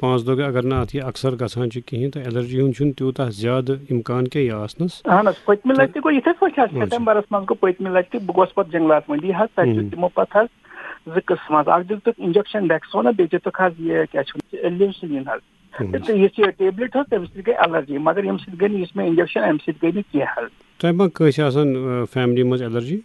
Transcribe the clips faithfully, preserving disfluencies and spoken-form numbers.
پانٛژھ دۄہ گٔے، اگر نہٕ اَتھ یہِ اکثر گژھان چھُ کِہیٖنۍ، تہٕ allergy ہُنٛد چھُنہٕ تیوٗتاہ زیادٕ اِمکان کینٛہہ یہِ آسنَس۔ اہن حظ، پٔتمہِ لَٹہِ تہِ گوٚو یِتھَے پٲٹھۍ حظ۔ اچھا۔ سیپٹمبرَس منٛز گوٚو پٔتمہِ لَٹہِ تہِ، بہٕ گوس پَتہٕ جنٛگلات مٔنٛڈی حظ، تَتہِ دیُت ہُم۔ تِمو پَتہٕ حظ زٕ قٕسٕم حظ، اَکھ دِتُکھ injection Dexona، بیٚیہِ دِتُکھ حظ یہِ کیٛاہ چھِ وَنان، Leucine حظ۔ ہُم۔ تہٕ یُس یہِ tablet حظ، تَمہِ سۭتۍ گٔے allergy، مگر ییٚمہِ سۭتۍ گٔے نہٕ، یُس مےٚ injection، اَمہِ سۭتۍ گٔے نہٕ کینٛہہ حظ۔ تۄہہِ ما کٲنٛسہِ آسان، آ، family منٛز allergy؟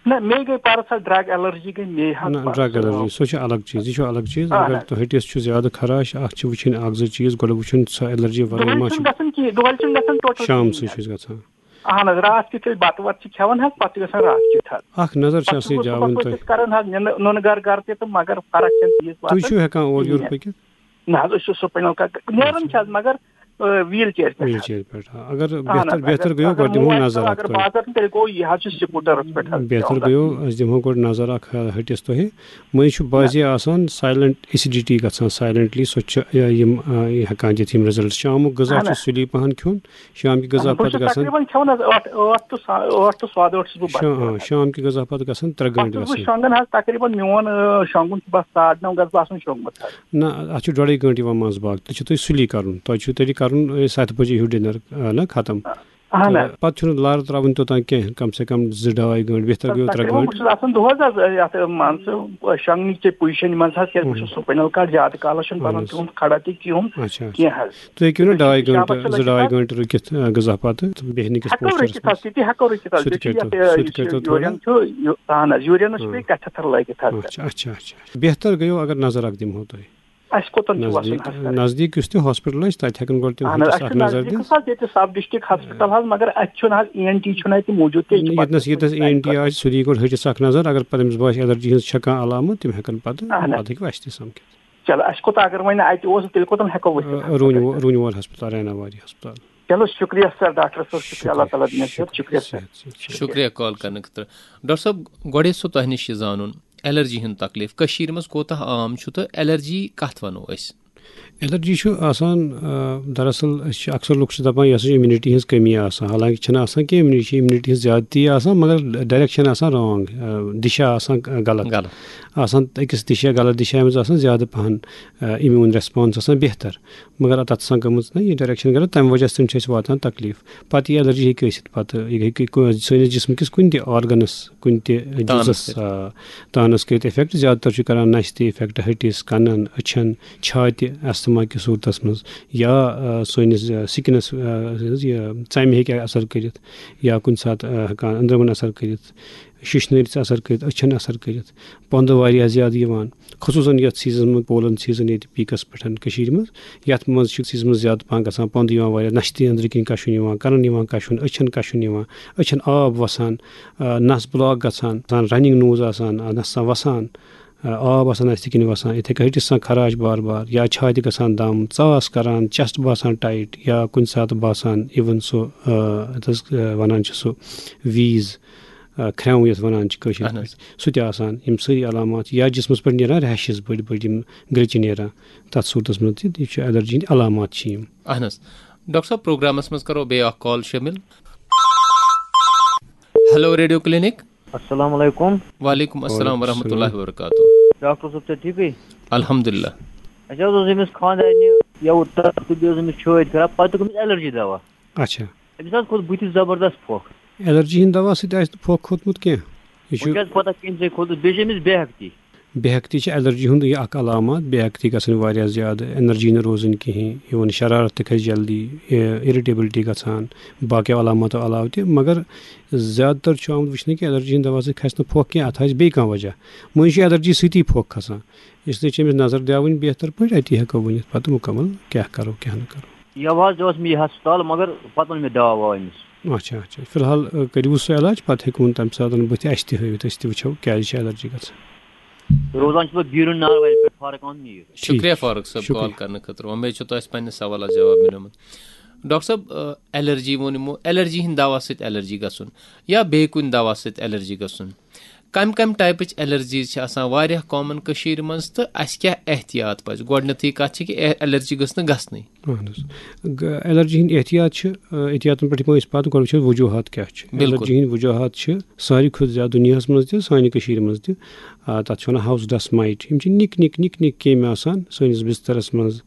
نہ، مے گٔے پرس حظ drug allergy گٔے مے حظ نہ، پرس۔ Drug allergy، سۄ چھِ الگ چیٖز، یہِ چھُ الگ چیٖز۔ اہن اگر حظ۔ تۄہہِ ہٹِس چھُ زیادٕ خراش، اَتھ چھِ وٕچھِنۍ اَکھ زٕ چیٖز، گۄڈٕ وٕچھُن سۄ allergy ورٲے دۄہلہِ ما چھُنہٕ چھِ۔ گژھان کِہیٖنۍ، دۄہلہِ چھُنہٕ گژھان total شام کِہیٖنۍ سۭتۍ حظ۔ چھُ أسۍ گژھان۔ اہن حظ، راتھ کیُتھ أسۍ بَتہٕ وَتہٕ چھِ کھٮ۪وان حظ، پَتہٕ چھُ گژھان راتھ کیُتھ حظ۔ اَکھ نظر چھِ پَتہٕ آسان یہِ صُبحَس جاوٕنۍ صُبحَس تۄہہِ۔ أسۍ کَران حظ نِنہٕ، نُنہٕ گَر گَر تہِ تہٕ مگر فرق چھَنہٕ تیٖژ تُہۍ واتان چھِو ہٮ۪کان اورٕ یورٕ کِہیٖنۍ۔ پٔکِتھ؟ نہ حظ، أسۍ چھِ spinal cord، نیران چھِ حظ، مگر، آ، wheelchair پٮ۪ٹھ حظ۔ Wheelchair پٮ۪ٹھ، آ۔ اگر اہن بہتر، حظ، بہتر اگر، گٔیو، اگر گۄڈٕ دِمو موبایل نظر اگر اکھ تۄہہِ۔ بازر تہِ تیٚلہِ گوٚو یہِ حظ چھُ scooterس پٮ۪ٹھ حظ بہتر پٮ۪وان گٔیو، گژھُن۔ أسۍ دِمہو گۄڈٕ نظر اکھ، آ، ہٹِس تۄہہِ۔ مٔنٛزۍ چھُ بعضے آسان silent acidity گژھان، silently، سۄ چھِ، آ، یِم، آ، یہِ ہٮ۪کان دِتھ یِم results۔ شامُک غذا اہن چھُ حظ۔ سُلی پہن کھیوٚن، شام کہِ غذا اہن، بہٕ پتہٕ چھُس گژھان۔ تقریباً کھٮ۪وان حظ ٲٹھ، ٲٹھ to سا-، ٲٹھ to ساڑٕ ٲٹھ چھُس بہٕ بتہٕ شا-، کھٮ۪وان آ، حظ۔ شام کہِ غذا پتہٕ گژھان ترٛےٚ پتہٕ گٲنٛٹہِ چھُس بہٕ گژھان۔ شۄنٛگان حظ، تقریٖباً میون، آ، شۄنٛگُن چھُ بس ساڑٕ نَو گژھٕ بہٕ آسُن شۄنٛگمُت حظ۔ نہ، اَتھ چھُ ڈۄڈٕے گٲنٛٹہٕ یِوان منٛز باگ، تیٚلہِ چھُ تۄہہِ سُلی کَرُن، تۄہہِ چھُو تیٚلہِ کَرُن، آ، ستہِ بجے ہیوٗ dinner، آ، نہ ختم۔ اہن حظ۔ تہٕ پَتہٕ چھُنہٕ لارٕ ترٛاوٕنۍ توٚتام کینٛہہ، کم سے کم زٕ ڈاے گٲنٛٹہٕ، بہتر گٔیو ترٛےٚ تقریٖباً بہٕ گٲنٛٹہٕ۔ چھُس آسان دۄہَس حظ یَتھ مان ژٕ شۄنٛگنٕچ تہِ position منٛز حظ، کیٛازِ بہٕ چھُس spinal cord زیادٕ کالَس چھُنہٕ بَنان اہن حظ۔ تِہُنٛد کھڑا تہِ کِہُنۍ اچھا، اچھا۔ کینٛہہ حظ۔ تُہۍ ہیٚکِو نہ تیٚلہِ ڈاے چھُ شامَس گٲنٛٹہٕ، چھُ زٕ لٔگِتھ ڈاے حظ۔ گٲنٛٹہٕ رُکِتھ، آ، غذا پتہٕ تہٕ بیٚہنہٕ کِس ہٮ۪کو postureس رُکِتھ حظ، منٛز۔ تِتہِ ہٮ۪کو رُکِتھ حظ، سُہ تہِ بیٚیہِ چھُ کٔرۍتو، یَتھ، سُہ تہِ یُس کٔرۍتو یہِ تُہۍ۔ Urine چھُ، یہِ، اہن حظ، urine چھُ اہن۔ بیٚیہِ catheter لٲگِتھ حظ۔ اچھا، اچھا، اچھا۔ بہتر گٔیو اگر نظر اکھ دِمہو تۄہہِ۔ اَسہِ کوٚتَن چھُ وَسُن نزدیٖک، ہسپتال؟ نزدیٖک یُس تہِ ہاسپِٹل آسہِ، تَتہِ ہٮ۪کَن گۄڈٕ تِم اہن حظ، ہٹِس اَسہِ اَکھ چھُ نظر نزدیٖکٕے دِتھ۔ حظ ییٚتہِ sub district ہسپتال حظ، مگر اَتہِ چھُنہٕ حظ ENT چھُنہٕ اَتہِ موٗجوٗد کینٛہہ، یہِ چھُ ییٚتہِ نَس، پَتہٕ ییٚتہِ نَس ENT آسہِ، سُہ دِیہِ گۄڈٕ ہٹِس اَکھ نظر، اگر پَتہٕ أمِس باسہِ allergy ہٕنٛز چھےٚ کانٛہہ علامت، تِم ہٮ۪کَن پَتہٕ، اہن حظ۔ پَتہٕ ہیٚکِو اَسہِ تہِ سَمکھِتھ۔ چلو، اَسہِ کوٚت اگر وۄنۍ اَتہِ اوس، تیٚلہِ کوٚتَن ہٮ۪کو ؤسِتھ آ، ہسپتال روٗنۍ وو-، پٮ۪ٹھ؟ روٗنۍ وول ہسپتال، ریناواری ہسپتال۔ چلو، شُکریہ سر، ڈاکٹر صٲب، شُکریہ، اللہ تعالیٰ دِنَس شُکریہ، صحت، شُکریہ سر۔ شُکریہ۔ شُکریہ کال کرنہٕ خٲطرٕ۔ ڈاکٹر صٲب، گۄڈَے سُہ تۄہہِ نِش یہِ زانُن، allergy ہُنٛد تکلیٖف کٔشیٖرِ منٛز کوٗتاہ عام چھُ تہٕ allergy کَتھ وَنو أسۍ؟ Allergy چھُ آسان، آ، دراصل أسۍ چھِ اکثر لُکھ چھِ دَپان، یہِ ہسا چھِ immunity ہٕنٛز کٔمی آسان، حالانکہِ چھَنہٕ آسان کینٛہہ، immunity چھِ immunity ہٕنٛز زیادتی آسان، مگر direction آسان wrong، آ، دِشا آسان غلط۔ غلط۔ آسان أکِس دِشا، غلط دِشا منٛز آسان زیادٕ پَہَن، آ، immune response آسان بہتر۔ مگر تَتھ آسان گٔمٕژ نہ یہِ direction غلط، تَمہِ وجہ سۭتۍ چھُ اَسہِ واتان تکلیٖف۔ پَتہٕ یہِ allergy ہیٚکہِ ٲسِتھ، پَتہٕ یہِ ہیٚکہِ کُ-، سٲنِس جسمہٕ کِس کُنہِ تہِ organس، کُنہِ تہِ تانَس جُزَس، پٮ۪ٹھ۔ آ، تانَس کٔرِتھ effect۔ زیادٕ تر چھُ کران نَسہِ تہِ effect، ہٹِس، کَنَن، أچھَن، چھاتہِ، asthma کِس صوٗرتَس منٛز، یا، آ، سٲنِس، آ، skinس، آ، یہِ ژَمہِ ہیٚکہِ اثر کٔرِتھ، یا کُنہِ ساتہٕ، آ، ہٮ۪کان أنٛدرَمَن اثر کٔرِتھ، شِشنٲرِس اثر کٔرِتھ، أچھَن اثر کٔرِتھ، پۄندٕ واریاہ زیادٕ یِوان۔ خصوٗصاً یَتھ seasonس منٛز، pollen season ییٚتہِ peakس پٮ۪ٹھ کٔشیٖرِ منٛز، یَتھ منٛز چھِ seasonس منٛز زیادٕ پَہَن گژھان پۄندٕ یِوان واریاہ، نَشہِ تہِ أنٛدرٕ کِنۍ کَشُن یِوان، کَنَن یِوان کَشُن، أچھَن کَشُن یِوان، أچھَن آب وَسان، آ، نَس block گژھان، آسان running nose آسان، آ، نَس آسان وَسان، آ، آب آسان نَسہِ کِنۍ وَسان، یِتھَے کٔنۍ ہٹِس آسان خراش بار بار، یا چھاتہِ گژھان دَم، ژاس کَران، chest باسان tight، یا کُنہِ ساتہٕ باسان even سُہ، آ، یَتھ حظ، آ، وَنان چھِ سُہ wheeze، آ، کھرٛٮ۪و یَتھ وَنان چھِ کٲشِر اہن حظ۔ پٲٹھۍ، سُہ تہِ آسان۔ یِم سٲری علامات چھِ، یا جسمَس پٮ۪ٹھ نیران rashes بٔڑۍ بٔڑۍ، یِم گرٛچہِ نیران، تَتھ صوٗرتَس منٛز تہِ، یہِ چھُ allergy ہٕنٛدۍ علامات چھِ یِم۔ اہن حظ۔ ڈاکٹر صٲب، پروگرامَس منٛز کرو بیٚیہِ اکھ call شٲمِل۔ Hello Radio Clinic۔ السلام علیکم۔ وعلیکم السلام وعلیکم ورحمۃ اللہ السلام۔ وبرکاتہ۔ ڈاکٹر صٲب، چھا ٹھیکٕے؟ الحمدللہ۔ اَسہِ حظ اوس أمِس خانٛدارنہِ یَوٕ تَتھ تہٕ بیٚیہِ اوس أمِس چھٲتۍ خراب، پَتہٕ توٚگ أمِس allergy دوا۔ اچھا۔ أمِس حظ کھوٚت بٕتھِس زبردست پھۄکھ۔ Allergy ہٕنٛدۍ دوا سۭتۍ آسہِ نہٕ پھۄکھ کھوٚتمُت کینٛہہ۔ یہِ چھُ وۄنۍ چھِ حظ پَتہ کٔمۍ سۭتۍ کھوٚتُس، بیٚیہِ چھِ أمِس بے ہٮ۪کتی۔ بے ہٮ۪کتی چھِ allergy ہُنٛد یہِ اکھ علامات، بے ہٮ۪کتی گژھٕنۍ واریاہ زیادٕ، energy نہٕ روزٕنۍ کِہیٖنۍ، even شرارت تہِ کھسہِ جلدی، اِ-، irritability گژھان، باقیو علاماتو علاوٕ تہِ۔ مگر زیادٕ تر چھُ آمُت وٕچھنہٕ کہِ allergy ہٕنٛدۍ دوا سۭتۍ کھسہِ نہٕ پھۄکھ کینٛہہ، اَتھ آسہِ بیٚیہِ کانٛہہ وجہ۔ مٔنٛزۍ چھُ allergy سۭتی پھۄکھ کھسان، اس لیے چھِ أمِس نظر دیاوٕنۍ بہتر پٲٹھۍ، اَتی ہٮ۪کو ؤنِتھ پَتہٕ مُکمل کیٛاہ کَرو، کیٛاہ نہٕ کَرو۔ یَوٕ حظ اوس مےٚ یہِ ہسپتال، مگر پَتہٕ اوٚن مےٚ دوا ووا أمِس۔ اچھا، اچھا۔ فی الحال، آ، کٔرِو سُہ علاج، پَتہٕ ہیٚکہِ وۄنۍ تَمہِ ساتہٕ بٕتھِ اَسہِ تہِ ہٲوِتھ، أسۍ تہِ وٕچھو کیٛازِ چھِ allergy گژھان۔ روزان چھُس بہٕ گیٖرُن ناروَلہِ پٮ۪ٹھ، فارق احمد میٖر۔ ٹھیٖک۔ شُکریہ فاروق صٲب، شُکریہ۔ Call کرنہٕ خٲطرٕ۔ وۄمید چھِ تۄہہِ اَسہِ پننہِ سوالَس جواب مِلیومُت۔ ڈاکٹر صٲب، آ، allergy ووٚن یِمو، allergy ہِنٛدۍ دوا سۭتۍ allergy گژھُن یا بیٚیہِ کُنہِ دوا سۭتۍ allergy گژھُن، کَمہِ کَمہِ typeٕچ allergies چھِ آسان واریاہ common کٔشیٖرِ منٛز تہٕ اَسہِ کیٛاہ احتیاط پَزِ؟ گۄڈٕنیتھٕے کَتھ چھِ کہِ اے-، allergy گٔژھ نہٕ گژھنٕے۔ اہن حظ۔ گ-، allergy ہٕنٛدۍ احتیاط چھِ، آ، احتیاطن پٮ۪ٹھ یِمو أسۍ پَتہٕ، گۄڈٕ وٕچھو وجوٗہات کیٛاہ چھِ۔ بِلکُل۔ Allergy ہٕنٛدۍ وجوٗہات چھِ ساروی کھۄتہٕ زیادٕ دُنیاہَس منٛز تہِ، سانہِ کٔشیٖرِ منٛز تہِ۔ آ، تَتھ چھِ وَنان house dust mite۔ یِم چھِ نِکۍ نِکۍ، نِکۍ نِکۍ کیٚمۍ آسان سٲنِس بِستَرَس منٛز،